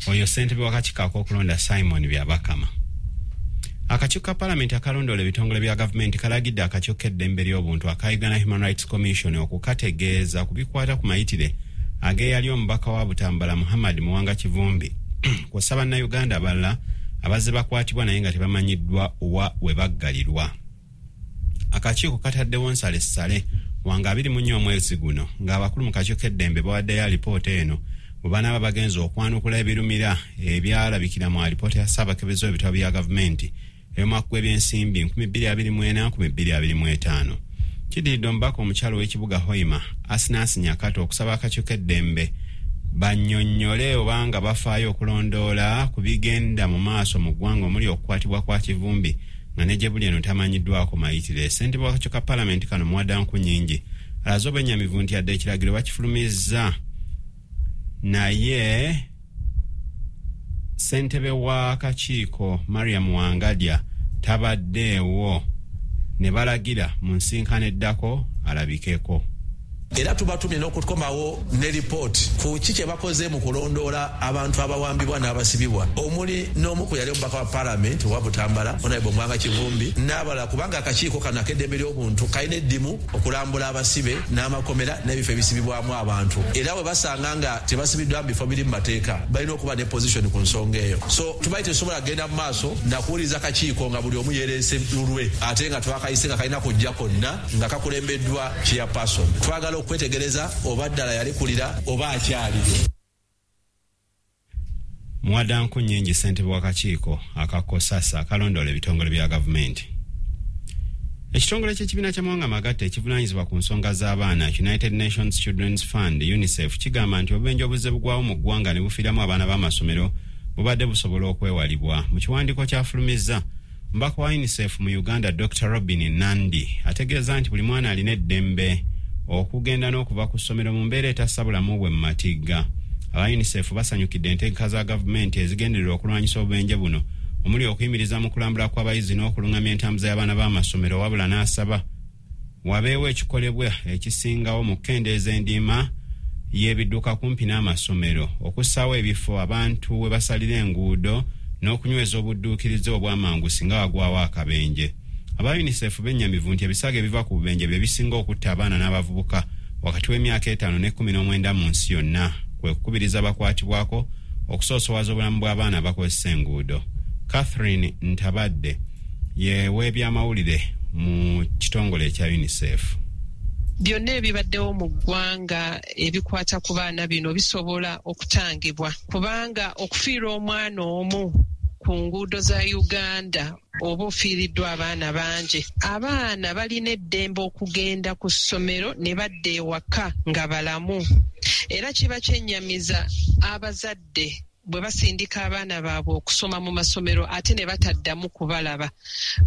Oyo ssentebe w'akakiiko ak'okulonda, Simon Byabakama. Akakiiko ka Palamenti akalondoola ebitongole bya gavumenti kalagidde akakiiko k'eddembe ly'obuntu aka Uganda Human Rights Commission okukategeeza ku bikwata ku mayitire ag'eyali omubaka wa Butambala, Muhammad Muwanga Kivumbi, kw'ossa Bannayuganda abalala abazze bakwatibwa naye nga tebamanyiddwa wa we baggalirwa. Akakiiko kataddewo nsalessale wanga 24 omwezi guno, ng'abakulu mu kakiiko k'eddembe bawaddeyo alipoota eno bwe banaaba bagenza okwanukula ebirumira ebyalabikira mu alipoota ya Ssaabakebezi w'ebitabo bya gavumenti ey'omwaka gw'ebyensimbi 2024 2025. Kiddiridde omubaka omukyalo w'ekibuga Hoima, Asinansi Nyakato, okusaba akakiiko k'eddembe bannyonnyole obanga bafaayo okulondoola ku bigenda mu maaso mu ggwanga, omuli okukwatibwa kwa Kivumbi nga ne gye buli eno tamanyiddwako mayitire. Ssentebe w'akakiiko ka Palamenti kano, Muwada Nkunyingi, alaze obwennyamivu nti yadde ekiragiro bakifulumizza, naye ssentebe w'akakiiko Mariam Wangadya tabaddeewo, ne balagira mu nsinkano eddako alabikeko. Era tubatumye n'okukomawo ne lipooti ku ki kye bakoze mu kulondoola abantu abawambibwa n'abasibibwa, omuli n'omu ku yali omubaka wa Palamenti owa Butambala, Honorable Muwanga Kivumbi, n'abalala, kubanga akakiiko kano ak'eddembe ly'obuntu kalina eddimu okulambula abasibe n'amakomera n'ebifo ebisibibwamu abantu, era bwe basanga nga tebasibiddwa mu bifo biri mu mateeka, balina okuba ne position ku nsonga eyo. So tubayi tetusobola kugenda mu maaso nakuwuliriza kakiiko nga buli omu yereese lulwe, ate nga twakayise nga kalina kujja konna nga kakulembeddwa chairperson. Twagala okwetegereza oba ddala yalekulira oba akyaliyo. Muwada Nkunyingi, ssentebe w'akakiiko akakosasa akalondoola ebitongole bya gavumenti. Ekitongole ky'ekibiina ky'amawanga magatte ekivunaanyizibwa ku nsonga z'abaana, United Nations Children's Fund, UNICEF, kigamba nti obubenje obuzze bugwawo mu ggwanga ne bufiiramu abaana b'amasomero bubadde busobola okwewalibwa. Mu kiwandiiko kyafulumizza, omubaka wa UNICEF mu Uganda, Dr Robin Nandi, ategeeza nti buli mwana alina eddembe okugenda n'okuva ku ssomero mu mbeera etassa bulamu bwe mu matigga. Aba UNICEF basanyukidde entegeka za gavumenti ezigendererwa okulwanyisa obubenje buno, omuli okuyimiriza mu kulambula kw'abayizi n'okulungamya entambuza y'abaana b'amasomero, wabula n'asaba wabeewo ekikolebwa ekisingawo mu kukendeeza endiima y'ebidduka kumpi n'amasomero, okussaawo ebifo abantu we basalira enguudo n'okunyweza obudduukirize obw'amangu singa wagwawo akabenje. Aba UNICEF bennyamivu nti ebisago ebiva ku bubenje bye bisinga okutta abaana n'abavubuka wakati w'emyaka 5 ne 19 mu nsi yonna, kwe kukubiriza bakwatibwako okusoosowaza obulamu bw'abaana abakozesa enguudo. Catherine Ntabadde ye w'ebyamawulire mu kitongole ekya UNICEF. Byonna ebibaddewo mu ggwanga ebikwata ku baana bino bisobola okutangibwa, kubanga okufiirwa omwana omu ku nguudo za Uganda oba ofiiriddwa abaana bangi. Abaana balina eddembe okugenda ku ssomero ne badda ewaka nga balamu, era kiba kyennyamiza abazadde bwe basindika abaana baabwe okusoma mu masomero ate ne bataddamu kubalaba.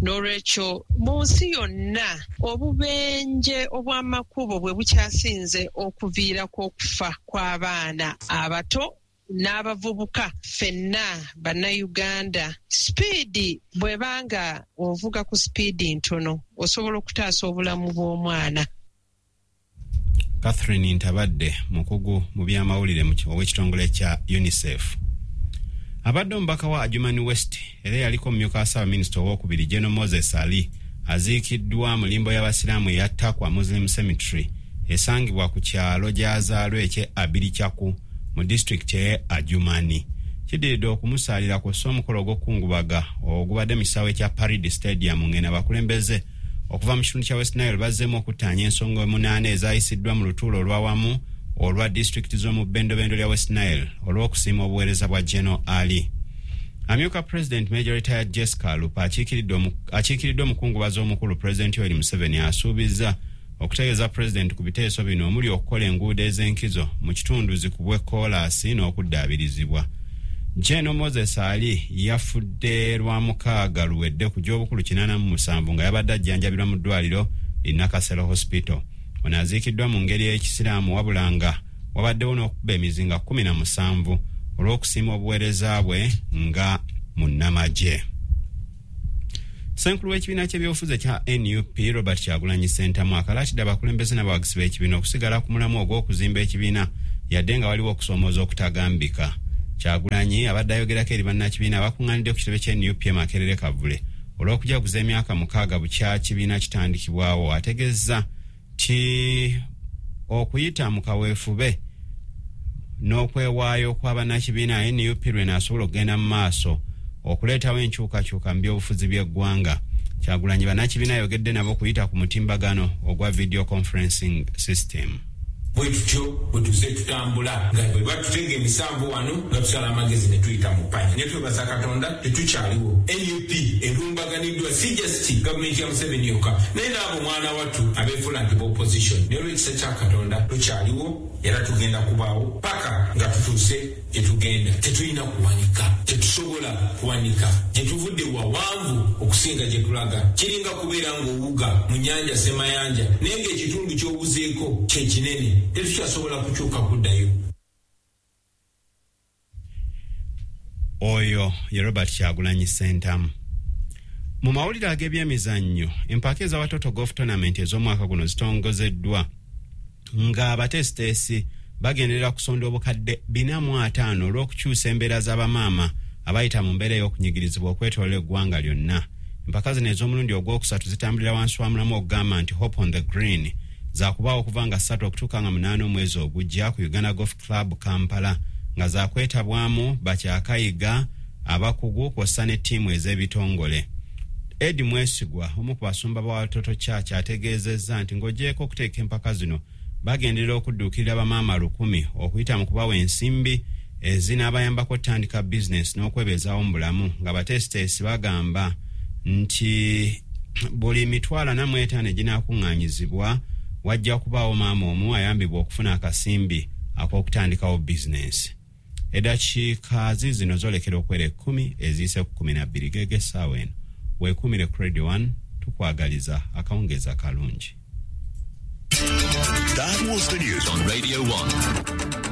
N'olwekyo mu nsi yonna obubenje obw'amakubo bwe bukyasinze okuviirako okufa kw'abaana abato n'abavubuka. Ffenna Bannayuganda, sipiidi bw'ebanga ovuga ku sipiidi ntono, osobola okutaasa obulamu bw'omwana. Catherine Ntabadde, mukugu mu byamawulire ow'ekitongole kya UNICEF. Abadde omubaka wa Adjumani West era yaliko omumyuka wa ssaabaminisita owokubiri, General Moses Ali, aziikiddwa mu limbo y'abasiraamu eya Takwa Muslim Cemetery esangibwa ku kyalo gy'azaalwa ekye Abirikyaku mu disitulikiti eye Adjumani. Kiddiridde okumusaalira kw'ossa omukolo ogw'okukungubaga ogubadde mu kisaawe ekya Parade Stadium, ng'eno abakulembeze okuva mu kitundu kya West Nile bazzeemu okuttaanya ensonga 8 ezayisiddwa mu lutuulo olwawamu olwa disitulikiti z'omu bbendobendo lya West Nile olw'okusiima obuweereza bwa General Ali. Amyuka President, Major Retired Jessica Alupo, akiikiriddwa omukungubazi omukulu President Yoweri Museveni, asuubizza okutegeeza Pulezidenti ku biteeso bino, omuli okukola enguudo ez'enkizo mu kitundu zikubwe koolaasi n'okuddaabirizibwa. General Moses Ali yafudde lwa mukaaga luwedde ku gy'obukulu 87 nga yabadde ajjanjabirwa mu ddwaliro li Nakasero Hospital. Ono aziikiddwa mu ngeri ey'ekisiraamu, wabula nga wabaddewo n'okukuba emizinga 17 olw'okusiima obuweereza bwe nga munnamagye. Ssenkulu w'ekibiina ky'ebyobufuzi ekya NUP, Robert Kyagulanyi Ssentamu, akalaatidde abakulembeze n'abawagizi b'ekibiina okusigala ku mulamu ogw'okuzimba ekibiina yadde nga waliwo okusoomooza okutagambika. Kyagulanyi abadde ayogerako eri bannakibiina abakuŋŋaanidde ku kitebe kya NUP e Makerere Kavule olw'okujaguza emyaka 6 bukya kibiina kitandikibwawo, ategeeza nti okuyita mu kaweefube n'okwewaayo kwa bannakibiina NUP lwenaasobola okugenda mu maaso okuleetawo enkyukakyuka mu byobufuzi by'eggwanga. Kyagulanyi bannakibiina ayogedde nabo okuyita ku mutimbagano ogwa video conferencing system. Bwe tutyo bwe tuze tutambula nga bwe batutega emisanvu wano nga tusala amagezi ne tuyita mu ppanya, ne twebaza Katonda tetukyaliwo. NUP erumbaganiddwa si just gavumenti ya Museveni yokka, naye n'abo mwana wattu abeefuula nti opposition. Naye olw'ekisa kya Katonda tukyaliwo era tugenda kubaawo paka nga tutuuse gye tugenda. Tetulina kuwanika, tetusobola kuwanika. Gye tuvudde wawanvu okusinga gye tulaga. Kiringa kubeera ng'owuga mu nnyanja Ssemayanja, naye ng'ekitundu ky'owuzeeko kye kinene, tetukyasobola kukyuka kuddayo. Oyo ye Robert Kyagulanyi Ssentamu. Mu mawulire ag'ebyemizannyo, empaka eza Watoto Golf Tournament ez'omwaka guno zitongozeddwa nga abateesiteesi bagenderera kusonda obukadde 450 olw'okukyusa embeera z'abamaama abayita mu mbeera ey'okunyigirizibwa okwetoloola eggwanga lyonna. Empaka zino ez'omulundi ogwokusatu zitambulira wansi wa mulamu okugamba nti Hope on the Green, zakubaawo okuva nga 3 okutuuka nga 8 omwezi ogujja ku Uganda Golf Club Kampala, nga zakwetabwamu bakyakayiga abakugu kw'ossa ne ttiimu ez'ebitongole. Edi Mwesigwa, omu ku basumba ba Watoto Church, ategeezezza nti ng'ogyeko okuteeka empaka zino, bagenderera okudduukirira bamaama 1000 okuyita mu kubawa ensimbi ezinaabayambako okutandika bizinesi n'okwebeezaawo mu bulamu, nga bateesiteesi bagamba nti buli 45,000 eginaakuŋŋaanyizibwa wajja kubaawo maama omu ayambibwa okufuna akasimbi ak'okutandikawo bizinesi. Eddakiika zino zoolekera okwera 10 eziyise ku 12 geege essaawa eno. Weekuumire ku Radio 1, tukwagaliza akawungeezi akalungi. That was the news on Radio 1.